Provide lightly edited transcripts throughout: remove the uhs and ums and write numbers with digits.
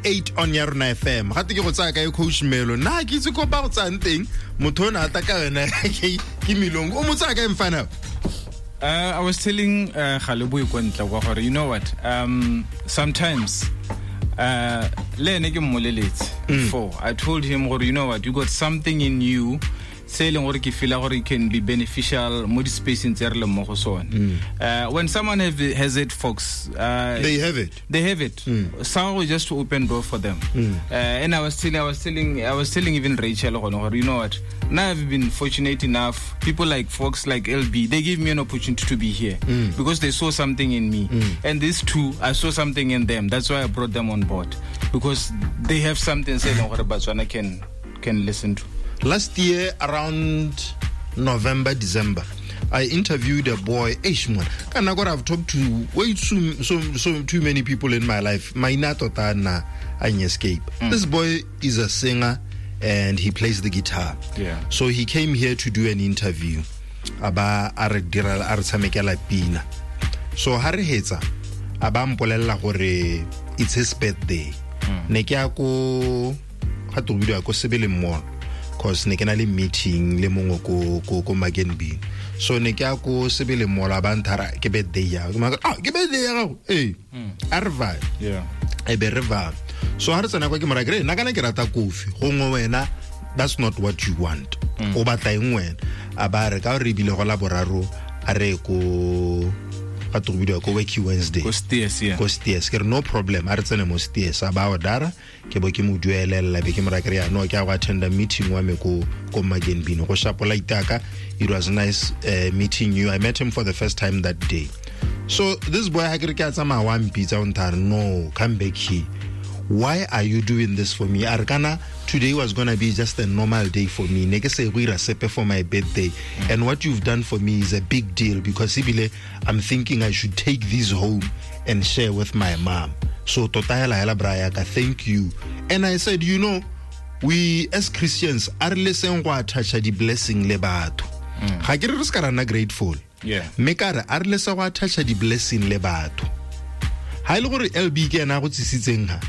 8 on ya rona FM. Gate ke go tsaya kae coach Melo. Nna ke itse ko ba go tsayang teng. Motho o ne a tla ka wena ke Milong. O mo tsaya kae mfana? I was telling Galeboe kwa ntle kwa gore, you know what? Sometimes le ene ke mmoleletse before. I told him gore, you know what? You got something in you se e leng gore ke feel gore it can be beneficial mo di-spacing tse re leng mo go sone. When someone has it, folks, they have it. They have it. Someone just to open door for them. And I was telling even Rachel gore, you know what? Now I've been fortunate enough. People like folks like LB, they give me an opportunity to be here because they saw something in me. And these two, I saw something in them. That's why I brought them on board, because they have something se e leng gore Batswana can listen to. Last year, around November, December, I interviewed a boy. Eish, man. Ka nako I've talked to way too, so, so too many people in my life. Maina tota na a escape. This boy is a singer and he plays the guitar. So he came here to do an interview. A ba a re dira, a re tshamekela pina. So ha re hetsa, a ba mpolella gore it's his birthday. Ne ke ya ko, ga to bidiwa ko Sebele Mall, cause ne ke na le meeting le mongwe ko Magenbin. So ne ke ya ko Sebele Mall, a ba nthara ke birthday ya. Ke maka, ah, ke birthday ya gago? Ee. A re va. E be re va. So ha re tsena kwa ke mo raya ke re, nna kana ke rata kofi. Gongwe wena, that's not what you want. O batla eng wena? A ba re, ka gore ebile go la boraro, a re ko, ga to go bidiwa ko Wacky Wednesday. Ko Steers, yeah. Ko Steers. Ke re, no problem, a re tsene mo Steers. A ba order-a, ke bo ke mo duelela, be ke mo raya ke re, ya, no, ke a go attenda meeting wa me ko Magenbin. Go shapola itaka. It was nice meeting you. I met him for the first time that day. So this boy, ha ke re ke a tsamaya wa mpitsa, o nthare, no, come back here. Why are you doing this for me? A re, kana today was going to be just a normal day for me. Ne ke se go ira sepe for my birthday. And what you've done for me is a big deal, because ebile I'm thinking I should take this home and share with my mom. So tota hela hela bra ya ka, thank you. And I said, you know, we as Christians a re leseng go attach di blessing le batho. Ga ke re re se ka ra nna grateful. Mme ka re a re lese go attach di blessing le batho. Ha e le gore LB ke ena a go tsisitseng ha,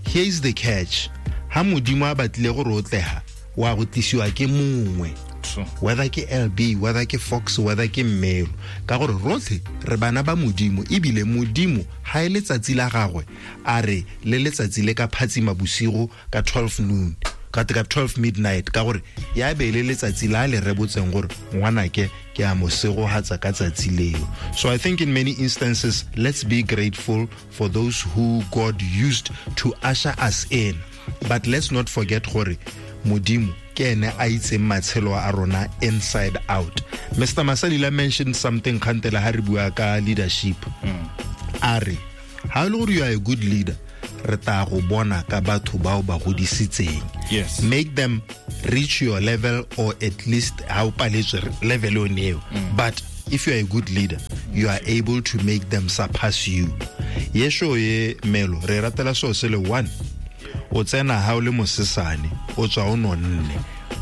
here is the catch. Ha Modimo a batlile gore o tleha, wa go tlisiwa ke mongwe. Whether ke LB, whether ke Fox, whether ke Mmelo. Ka gore rotlhe re bana ba Modimo, ebile Modimo ha e letsatsi la gagwe, a re le letsatsi le ka phatsima bosigo ka 12 noon, ka te ka 12 midnight, ka gore ya be le letsatsi la le rebotseng gore ngwanake ke a mo segohatsa ka tsatsi leo. So I think in many instances, let's be grateful for those who God used to usher us in. But let's not forget gore Modimo ke ene a itseng matshelo a rona inside out. Mr. Masalila mentioned something kgantele ha re bua ka leadership. A re, ha e le gore you are a good leader, re tla go bona ka batho bao ba godisitseng. Make them reach your level, or at least ha o paletswe level yone eo. But if you are a good leader, you are able to make them surpass you. Yesho ye Melo, re ratela so se le one. O tsena ha o le mosesane, o tswa o nonne.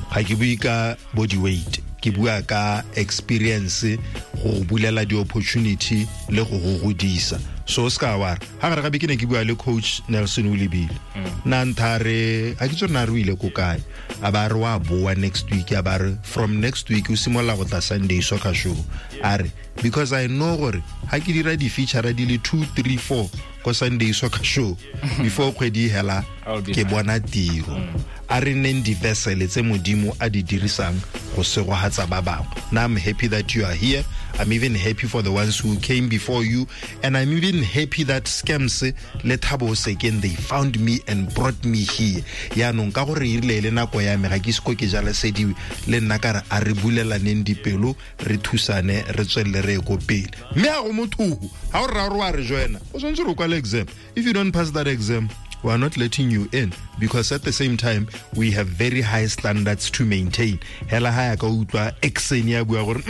Ga ke bue ka body weight, ke bua ka experience, go bulela di-opportunity le go go godisa. So o seka wa re, ha gare gape ke ne ke bua le coach Nelson Olebile. Na ntha re, ha ke itse gore na re o ile ko kae. A ba re wa boa next week, a ba re from next week o simolola go tla Sunday soccer show. A re, because I know gore ha ke dira di-feature di le 2, 3, 4 ko Sunday soccer show before kgwedi e hela, I'll be ke fine. bona tiro. A re nneng di-vessel tse Modimo a di dirisang go segohatsa ba bangwe. Now I'm happy that you are here. I'm even happy for the ones who came before you. And I'm even happy that Scams le Thabo Sekeng, they found me and brought me here. Yaanong ka gore e rile e le nako ya me, ga ke ise ko ke jalesediwe, le nna ka re a re bulelaneng dipelo, re thusane, re tswelele re ye ko pele. Mme ha go motho, ha o rra gore wa re joina, o tshwanetse gore o kwale exam. If you don't pass that exam, we are not letting you in, because at the same time we have very high standards to maintain. Hela ha ya ka utlwa accent ya bua gore,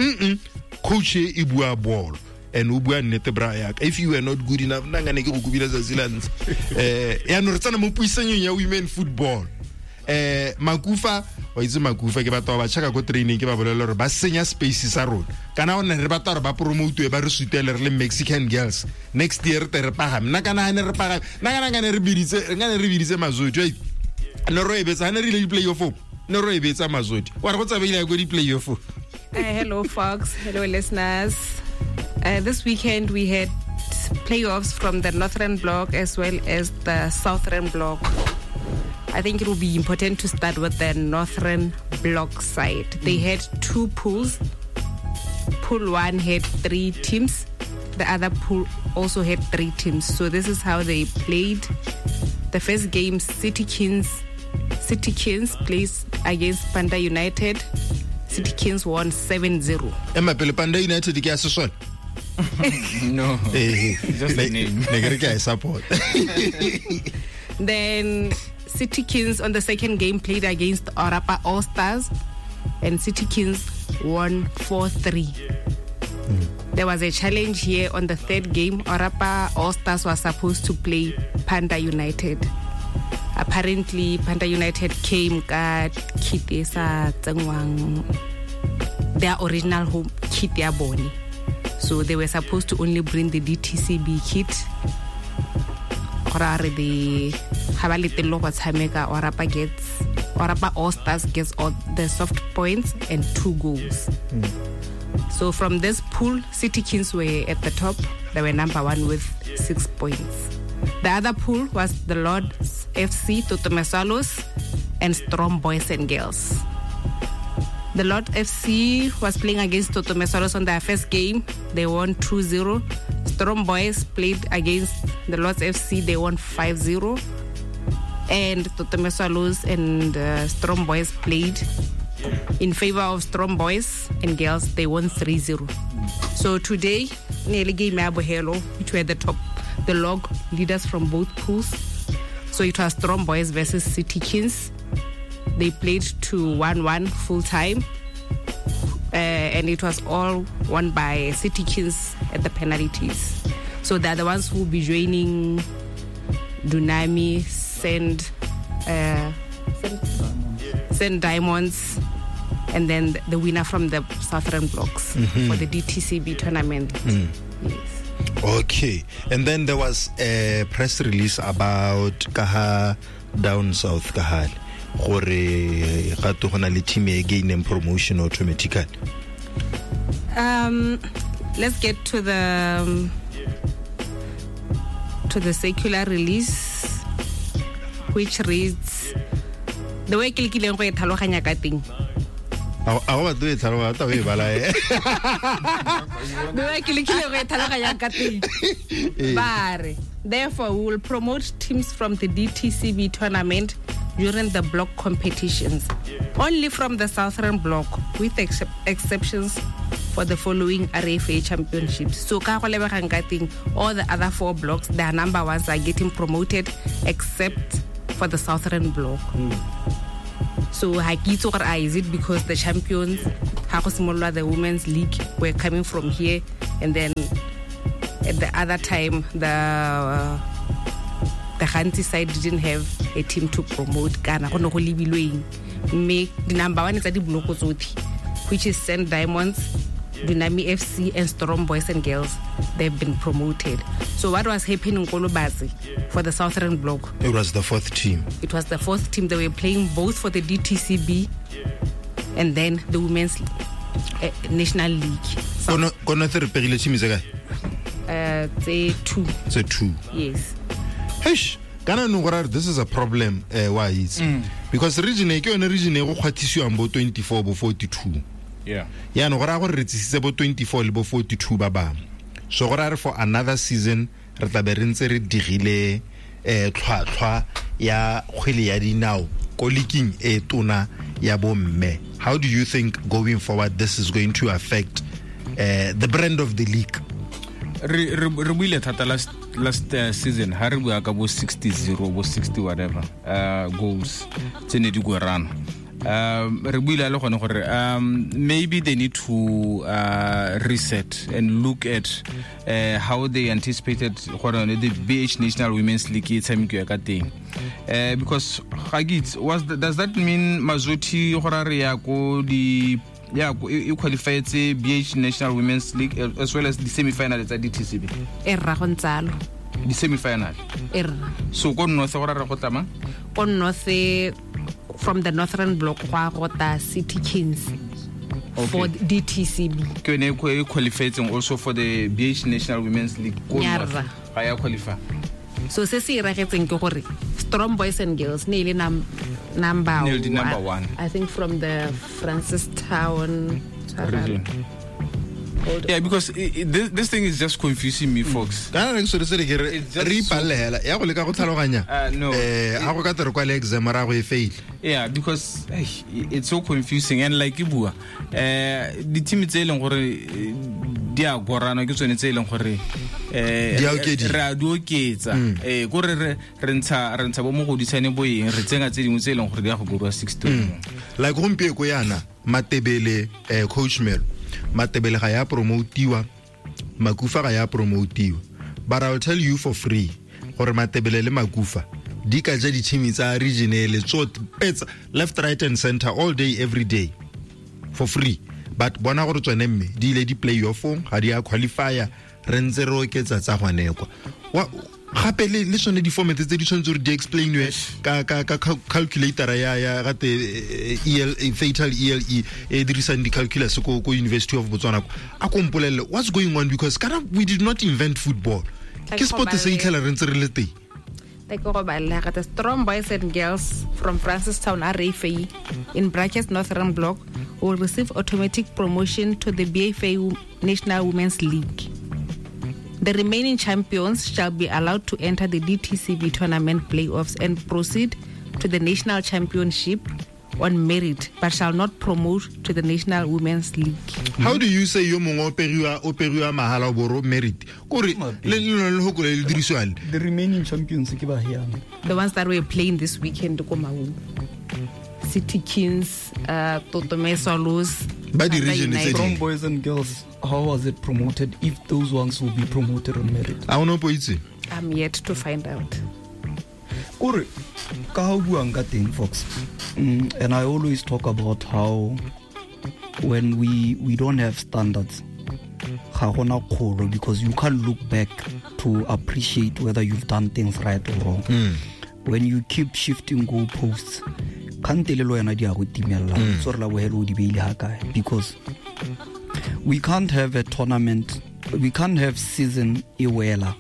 coach e bua bolo. And o bua nnete bra ya ka. If you were not good enough, nna nkane ke go kubile tsatsi la ntlha. Yaanong re tsena mo puisanyong ya women football. Makufa wa itse Makufa ke batho ba checka ko training ke ba bolela gore ba senya space sa rona kana one re batla gore ba promote ba re sutele re le Mexican girls next year te re pagame nna kana ne re pagame nna kana kana re biditse Mazodi ne ro e betsa ne re ile di play off ne ro e betsa Mazodi wa re go tsabeile go di play off. Hello folks, hello listeners. This weekend we had playoffs from the Northern Block as well as the Southern Block. I think it will be important to start with the Northern Block side. They had two pools. Pool 1 had 3 teams. The other pool also had 3 teams. So this is how they played. The first game, City Kings plays against Panda United. City Kings won 7-0. Emma pele Panda United ke a sesole? No. Just the name. Ne ke re ke a support. Then City Kings on the second game played against Orapa All Stars, and City Kings won 4-3. There was a challenge here on the third game. Orapa All Stars was supposed to play Panda United. Apparently, Panda United came ka kit e sa tsengwang, their original home kit ya bone. So they were supposed to only bring the DTCB kit. Gore the ha ba letello go tshameka, Orapa All Stars gets all the soft points and 2 goals. So from this pool, City Kings were at the top. They were number 1 with 6 points. The other pool was the Lords FC, Totome Swallows, and Storm Boys and Girls. The Lord FC was playing against Totome Swallows on their first game. They won 2-0. Storm Boys played against the Lords FC. They won 5-0. And Totome Swallows and Storm Boys played in favor of Storm Boys and Girls. They won 3-0. So today, nearly game Bohelo, which were the top, the log leaders from both pools. So it was Storm Boys versus City Kings. They played to 1-1 full time. And it was all won by City Kings at the penalties. So they're the ones who will be joining Dunami, Send Diamonds, and then the winner from the Southern Blocks for the DTCB tournament. Yes. Okay. And then there was a press release about Kaha down south Kahal. Gore ga to gona le team e gaining promotion automatically. Let's get to the circular release, which reads the way ke lekileng go e tlhaloganya ka teng. A go batlo e tlhaloganya ta o e bala e. The way ke lekileng go e tlhaloganya ka teng. Bare, therefore we will promote teams from the DTCB tournament during the block competitions, only from the Southern Block, with exceptions for the following RFA championships. So ka go lebegang ka teng, all the other 4 blocks, their number ones are getting promoted except for the Southern Block. So ha ke itse gore is it because the champions ha go simolola the Women's League were coming from here, and then at the other time the Ghanzi side didn't have a team to promote kana go ne go lebilweng, mme di number 1 tsa di bloko tsotlhe, which is Sand Diamonds, Dunami FC, and Storm Boys and Girls, they've been promoted. So what was happening in Kolobatse for the Southern Block? It was the fourth team. It was the fourth team. They were playing both for the DTCB and then the Women's National League. Kono re pegile team tse kae? Tse 2. Tse 2. Yes. Eish, kana no gore this is a problem why is because region e ke yone region e go kgwathisiwang bo 24 bo 42. Yeah. Ya no gore gore re tsisitse bo 24 le bo 42 ba bangwe. So gore re for another season re tla be re ntse re digile tlhwatlhwa ya kgwele ya dinao ko leaking e tona ya bo mme. How do you think going forward this is going to affect the brand of the league? Re buile thata last season ha re bua ka bo 60-0 bo 60 whatever goals tse ne di gorana. Re buile le gone gore maybe they need to reset and look at how they anticipated gore the BH National Women's League e tshamekiwa ka teng. Because ga ke itse, does that mean Mazotti gore re ya ko di ya e qualifietse BH National Women's League as well as the semi-final tsa DTCB? E rra go ntsalo. The semi-final. E rra. So ko North gore re go tlama? Ko North, from the Northern Block go a gota City Kings. Okay. For DTCB. Ke yone e qualifietseng also for the BH National Women's League ko North. Nyarra. Ga ya qualify. So se se iragetseng ke gore Strong Boys and Girls ne ile number Ne le number 1. I think from the Francistown region. Yeah, because this thing is just confusing me, folks. Kana re se se ke re It's just re ipallela ya go leka go tlhaloganya. No. Ha go ka tere kwa le exam ra go e fail. Yeah, because it's so confusing and like e bua, di team tse e leng gore di a gorana ke tsone tse e leng gore Di a okediwa. re a di oketsa. Ko re re ntsha bo mogodisane bo eng, re tsenga tse dingwe tse e leng gore di a go gorwa 6-2. Like gompieko yana Matebele, coach Melo, Matebele ga ya promotiwa, Makufa ga ya promotiwa. But I'll tell you for free gore Matebele le Makufa di ka ja di-team tsa region ele tsotlhe, petsa left, right and center all day every day for free. But bona gore tsone mme di ile di play off-ong, ga di a qualifier, re ntse re oketsa tsa gone kwa. Gape le tsone di-format tse di tshwanetse gore di explainwe ka calculator ya gate, EL, fatal ELE e dirisang di-calculus ko University of Botswana kwa. A ko mpolelle what's going on, because kana we did not invent football. Tla Ke ke sport se go itlhela re ntse re le teng. Tla ke go balela gate Strong Boys and Girls from Francistown RFA in brackets Northern Block will receive automatic promotion to the BFA National Women's League. The remaining champions shall be allowed to enter the DTCB tournament playoffs and proceed to the national championship on merit, but shall not promote to the National Women's League. How do you say yo mongwe o periwa mahala o boro merit? Kore le le le ho kole le dirisiwa le. The remaining champions ke ba hiana. The ones that were playing this weekend ko Maun. City Kings, Totome Swallows, Ba di Tata region tse United. ding. Strong Boys and Girls, how was it promoted if those ones will be promoted on merit? A o no poitse? I'm yet to find out. Kore, ka ha o buang ka teng, Fox. And I always talk about how when we don't have standards, ga gona kgolo, because you can't look back to appreciate whether you've done things right or wrong. When you keep shifting goalposts, kgante le wena di a go timella. So re la bohelo o di beile ha kae? Because we can't have a tournament, we can't have season e wela.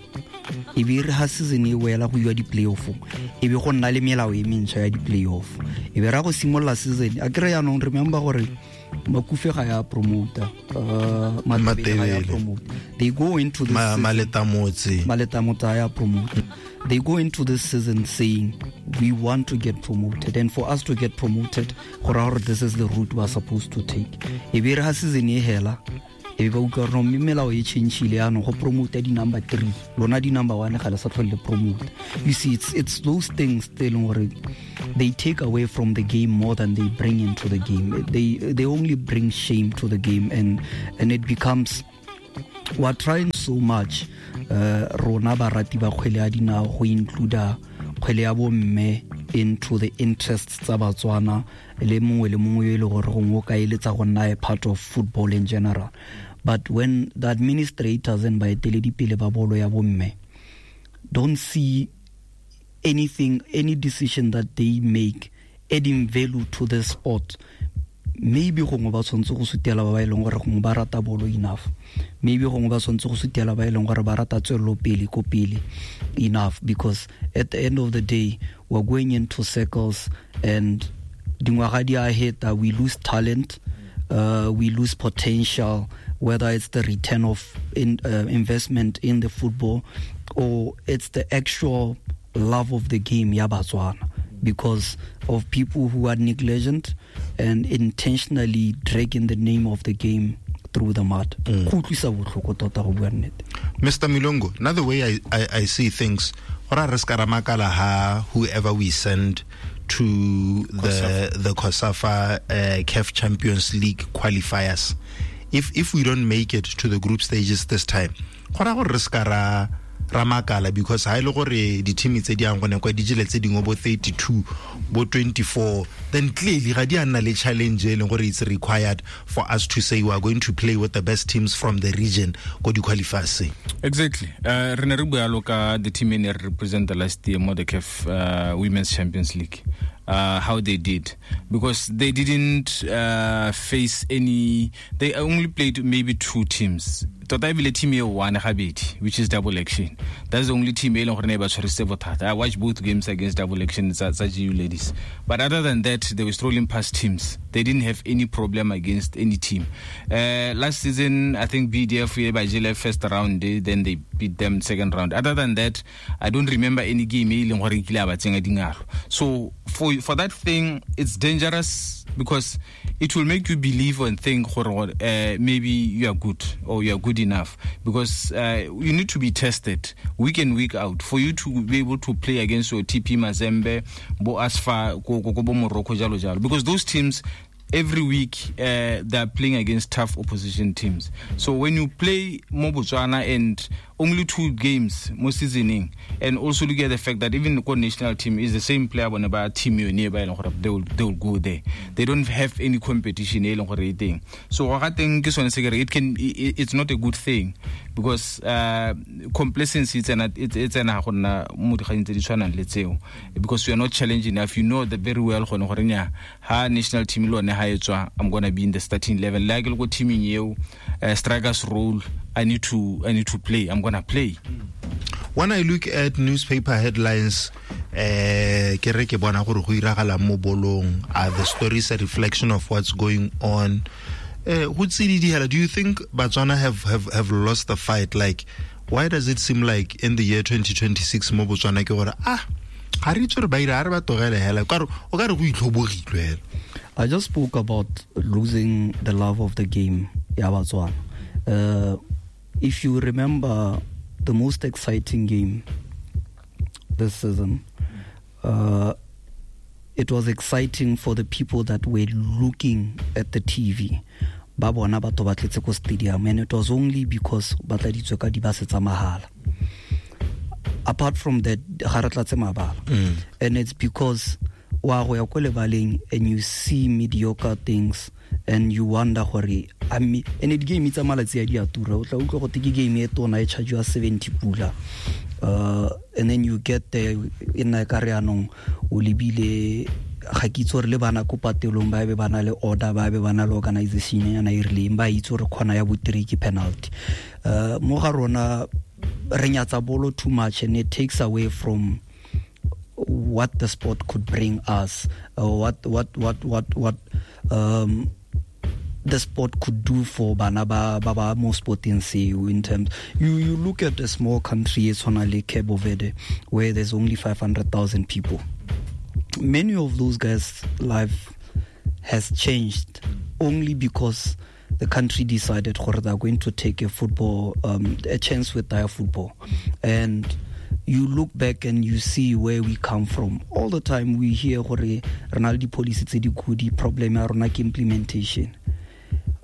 E be re ha season e wela go iwa di-playoff-ong, e be go nna le melao e mentšha ya di-playoff. E be ra go simolola season, a kry jaanong remember gore Makufe ga ya promoter, Matebele ga ya Matebele. promote. They go into this season, Maletamotse. Maletamotse a ya promote. They go into this season saying we want to get promoted, and for us to get promoted, go raya gore this is the route we are supposed to take. E be re ha season e hela, e be ba utlwa gore no, mme melao e change-ile jaanong, go promote di-number 3, lona di-number 1 ga le sa tlhole le promote. You see, it's those things tse e leng gore they take away from the game more than they bring into the game. They only bring shame to the game, and it becomes, we are trying so much, rona barati ba kgwele ya dinao go include kgwele ya bomme into the interests tsa Batswana le mongwe le mongwe yo e le gore gongwe o ka eletsa go nna a part of football in general. But when the administrators and baeteledipele ba bolo ya bomme don't see anything, any decision that they make adding value to the sport, maybe gongwe ba tshwanetse go sutela ba ba e leng gore gongwe ba rata bolo enough, maybe gongwe ba tshwanetse go sutela ba e leng gore ba rata tswelelopele ko pele enough, because at the end of the day we're going into circles and dingwaga di a heta, we lose talent, we lose potential, whether it's the return of investment in the football or it's the actual love of the game ya Batswana, because of people who are negligent and intentionally dragging the name of the game through the mud. Go utlwisa botlhoko tota go bua nnete. Mr. Milongo, now the way I see things, ora re ska ra makala ha whoever we send to the COSAFA CAF Champions League qualifiers. If we don't make it to the group stages this time, go ra gore re ska ra makala, because ha ile gore di team tse di yang gone kwa di jele tse dingwe bo 32 bo 24, then clearly ga di a nna le challenge e leng gore it's required for us to say we are going to play with the best teams from the region go di qualifiers. Exactly. Re ne re bua ka the team e ne re represent the last year mo the CAF Women's Champions League. How they did, because they didn't face any, they only played maybe two teams. Tota ebile team e one gabedi, which is Double Action. That's the only team e leng gore ne ba tshwarisitse bothata. I watched both games against Double Action tsa GU ladies. But other than that, they were strolling past teams. They didn't have any problem against any team. Last season, I think BDF ba jele first round, then they beat them second round. Other than that, I don't remember any game e leng gore e kile ba tsenya dingalo. So for that thing, it's dangerous because it will make you believe and think maybe you are good or you are good enough, because you need to be tested week in, week out for you to be able to play against your TP Mazembe, Bo Asfa, Bo Morocco, jalo jalo, because those teams every week they are playing against tough opposition teams. So when you play mo Botswana and only two games mo seasoning, and also look at the fact that even the national team is the same player whenever team you nearby, they will go there. They don't have any competition. So I think it's not a good thing, because complacency it's because you are not challenged enough. You know that very well. Ha national team I'm gonna be in the starting 11. Like go team in you, striker's role. I need to play. I'm gonna play. When I look at newspaper headlines, ke re ke bona gore go iragala mo bolong, are the stories a reflection of what's going on? Do you think Botswana have lost the fight? Like, why does it seem like in the year 2026 mo Botswana ke gore ga re itse gore ba ira, re ba togele hela, o ka re go itlhobogilwe hela. I just spoke about losing the love of the game ya Botswana. If you remember the most exciting game this season, it was exciting for the people that were looking at the TV. Ba bona batho ba tletse ko stadium, and it was only because ba tladitswe ka dibase tsa mahala. Apart from that, ga re tlatse mabala. And it's because wa go ya ko lebaleng and you see mediocre things and you wonder gore and it game tsa malatsi a di a tura, o tla utlwa go te ke game e tona e chargewa 70 pula, and then you get there e nna ka re anong o lebile ga ke itse gore le bana ko patelong ba be ba na le order, ba be ba na le organization yana e rileng, ba itse gore khona ya bo 3 ke penalty. Mo ga rona re nyatsa bolo too much, and it takes away from what the sport could bring us, what the sport could do for bana ba ba mo sporting seo. In terms, you look at a small country, it's like Cape Verde, where there's only 500,000 people. Many of those guys' life has changed only because the country decided they're going to take a football, a chance with their football. And you look back and you see where we come from. All the time we hear gore re na le di-policy tse di good, problem ya rona ke implementation.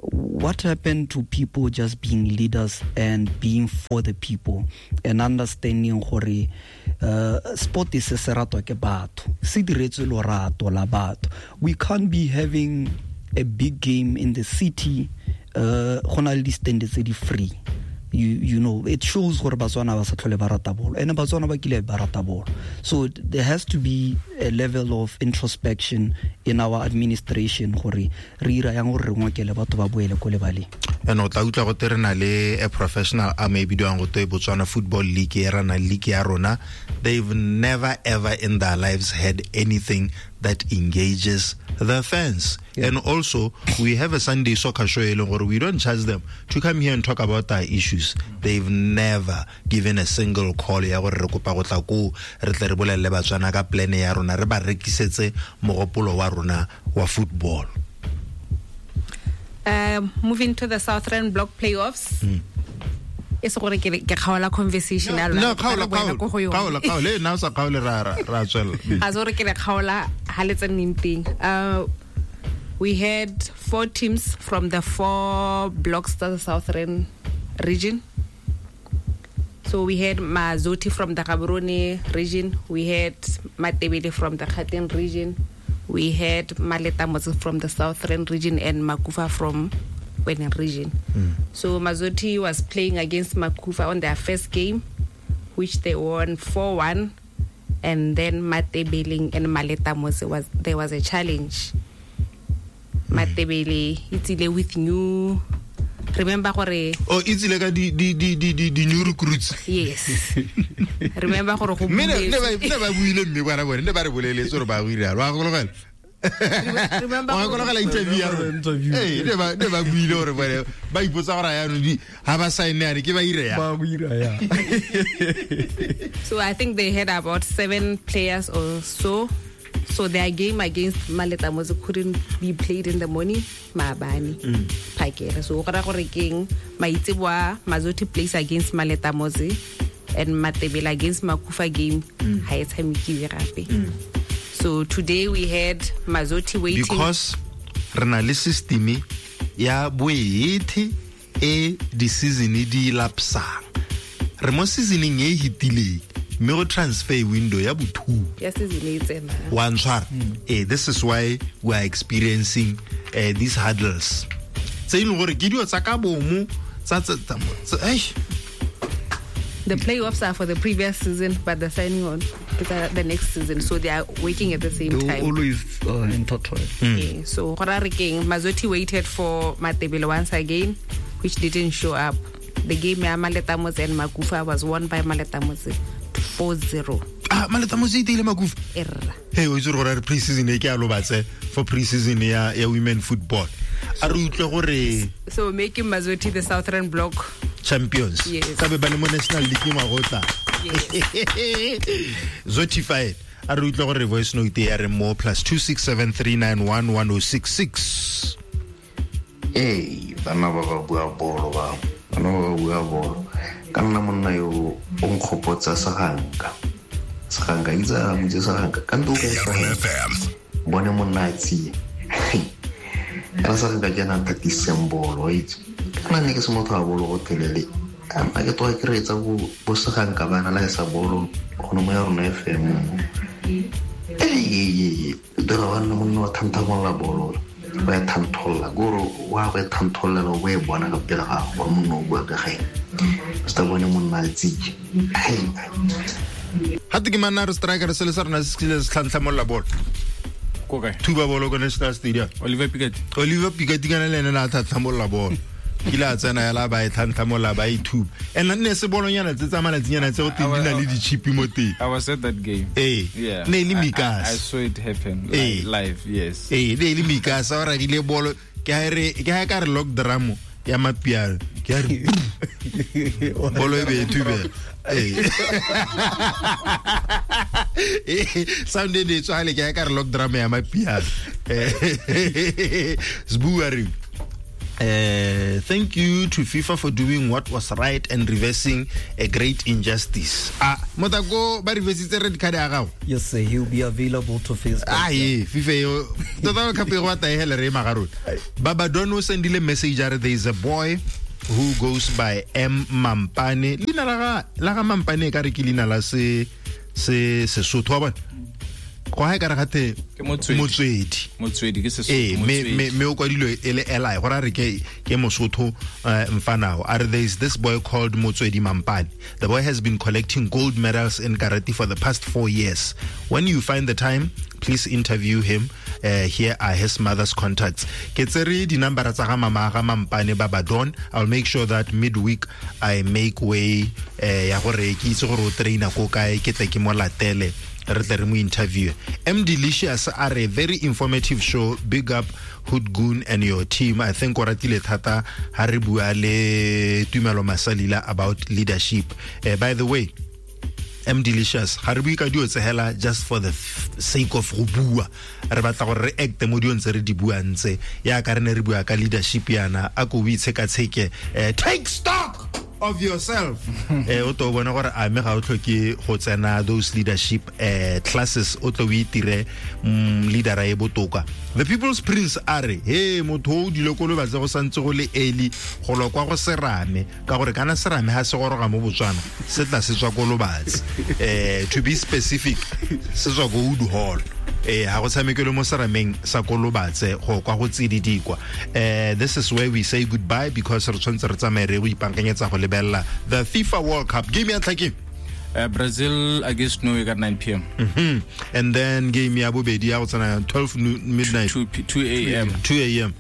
What happened to people just being leaders and being for the people and understanding gore sport is se ratwa ke batho, se diretswe lorato la batho. We can't be having a big game in the city go na le di-stand tse di free. You know, it shows gore Batswana ba sa tlhole ba rata bolo, and Batswana ba kile ba rata bolo. So there has to be a level of introspection in our administration gore re ira yang gore re ngokele batho ba boele ko lebaleng. And o tla utlwa go te re na le a professional arm e bidiwang go te Botswana Football League, e rana league ya rona. They've never ever in their lives had anything that engages the fans. Yeah. And also, we have a Sunday soccer show where we don't charge them to come here and talk about our issues. They've never given a single call ya gore re kopa go tla ko re tle re bolelle Batswana ka plan ya rona, re ba rekisetse mogopolo wa rona wa football. Moving to the Southern Block playoffs. E se gore ke kgaola conversation ya lona. No, kgaola kgaola. Kgaola nna o sa kgaole ra tswella. A se gore ke le kgaola ha le tseneng teng. We had 4 teams from the 4 blocks of the Southern region. So we had Mazoti from the Gaborone region, we had Matebele from the Gauteng region, we had Maleta Motse from the Southern region, and Makufa from Kweneng region. So Mazoti was playing against Makufa on their first game, which they won 4-1, and then Matebele and Maleta Motse there was a challenge. Matebele itsile with new, remember gore oh itsile ka di new recruits. Yes. Remember gore go ne ba buile mme bana bone ne ba re boleletse gore ba buile wa gologela. Remember wa gologela interview ya rona. Eh ne ba buile gore bone ba ipotsa gore ya no di ha ba sign ya ke ba ire ya. Ba buira ya. So I think they had about 7 players or so. So their game against Maleta Motse couldn't be played in the morning, maabane. Phakela. So go ra gore keng maitseboa Mazoti plays against Maleta Motse and Matebele against Makufa game ha e tshamekiwe gape. So today we had Mazoti waiting because re na le system ya boethe e di season di lapsang. Re mo seasoning e hitileng. Mme go transfer window ya bo2 ya season e tsena wa ntshwara. This is why we are experiencing these hurdles tse e leng gore ke dio tsa ka bomo tsa The playoffs are for the previous season, but the signing on is the next season, so they are working at the same time. Always intertwined. Yeah, so go ra re keng Mazoti waited for Matebele once again, which didn't show up. The game ya Maleta Motse and Makufa was won by Maleta Motse 4-0. Ah, Maleta Motse e ile Makufa. Erra. Hey, o itse gore re pre-season e ke a lobatse for pre-season ya women football. A re utlwe gore so making Mazoti the Southern Block champions. Yes. Ka be ba le mo National League ngwa. Yes. Zotified. A re utlwe gore voice note ya re mo +2673911066. Hey, bana ba ba bua bolo ba. Bana ba bua bolo. Ka nna monna yo o nkgopotsa Seganka. Seganka itsa motse Seganka ka ntlo ka bone monna a tsie. Kana Seganka ke na thatiseng bolo itse. Kana ne ke se motho a bolo go telele. A ke tloga ke reetsa bo Seganka bana la sa bolo gone mo ya rona FM. Ee, dira wa nna monna wa thanthamolla bolo. Ba ya thantholla gore wa go thanthollela o e bona ka pele ga gore monna o bua ka gae. Sta bone monna a tsitse. Ga te ke manna re striker se le sa rona se se tlhantlhamolla bolo. Ko kae? Thuba bolo ko National Stadium. Oliver Pikati. Oliver Pikati kana le ene na tlhantlhamolla bolo. Ke la tsena ya la ba e tlhantlhamolla ba e thuba. And nne se bolonyana tse tsa malatsinyana tse go teng di na le di-chip mo teng. I was at that game. Eh. Yeah. Ne le Mikas. I saw it happen live, yes. Eh, ne le Mikas o ragile bolo ke ha re ke ha ka re lock drum ya mapiano. Ke ha re bolo e be thube. Eh. Sound e tswale ke ha ka re lock drum ya mapiano. Sbuari. Thank you to FIFA for doing what was right and reversing a great injustice. Ah, motako ba reversitse red card ya gago. Yes sir, he'll be available to face. Ah, yeah, FIFA yo. Tota ka pego wa taehele re magarona. Baba Dono sendile message are there is a boy who goes by M Mampane. Leina la ga Mampane ka re ke leina la se Sesotho wa bona. Go ha e ka re gate Motswedi. Motswedi ke Sesotho. Eh, me o kwadilwe e le Eli go ra re ke Mosotho mfanao. Are there is this boy called Motswedi Mampane. The boy has been collecting gold medals in karate for the past 4 years. When you find the time, please interview him. Here are his mother's contacts. Ke tsere di number tsa ga mama ga Mampane Babadon. I'll make sure that midweek I make way ya gore ke itse gore o traina ko kae ke tle ke mo latele. Re tle re mo interview. M Delicious are a very informative show. Big up Hoodgoon and your team. I think o ratile thata ha re bua le Tumelo Masalila about leadership. By the way, M Delicious ga re bue ka dio tse hela just for the sake of go bua. Re batla gore re acte mo diong tse re di buang tse. Ya ka re ne re bua ka leadership yana a ko o itshekatsheke. Take stock. of yourself. O to bona gore a me ga o tlhoke go tsena those leadership classes, o tlo o itire leadera e botoka. The People's Prince a re he motho o dile ko Lobatse go santse go le early go lo kwa go serame, ka gore kana serame ha se goroga mo Botswana se tla se tswa ko Lobatse. To be specific, se tswa ko Wood Hall. Ha go tshamekele mo serameng sa ko Lobatse go kwa go tsididikwa. This is where we say goodbye because re tshwanetse re tsamaye re go ipankanyetsa go lebella the FIFA World Cup. Game ya ntlha ke Brazil against Norway at 9 p.m. And then game ya bobedi ya go tsena 12 midnight. 2 a.m. 2 a.m.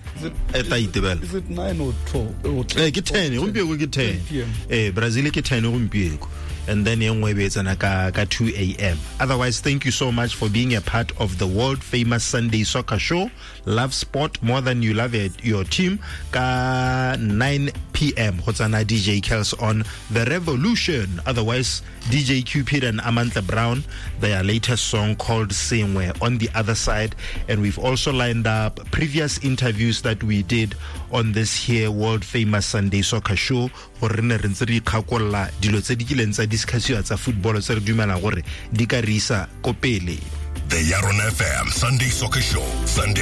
E tla itebela. Is it 9 or 12? Or 10? Ke 10 gompieno, ke 10. 10 p.m. Brazil ke 10 gompieno. And then e nngwe e be e tsena ka 2 a.m. Otherwise, thank you so much for being a part of the world famous Sunday Soccer Show. Love sport more than you love it, your team. Ka 9 p.m. go tsena DJ Kels on The Revolution. Otherwise, DJ Cupid and Amantla Brown, their latest song called Sengwe on the other side. And we've also lined up previous interviews that we did on this here world famous Sunday Soccer Show. Gore re ne re ntse re ikgakolla dilo tse di kileng tsa discussiwa tsa football tse re dumelang gore di ka re isa ko pele. The Yaron FM Sunday Soccer Show, Sunday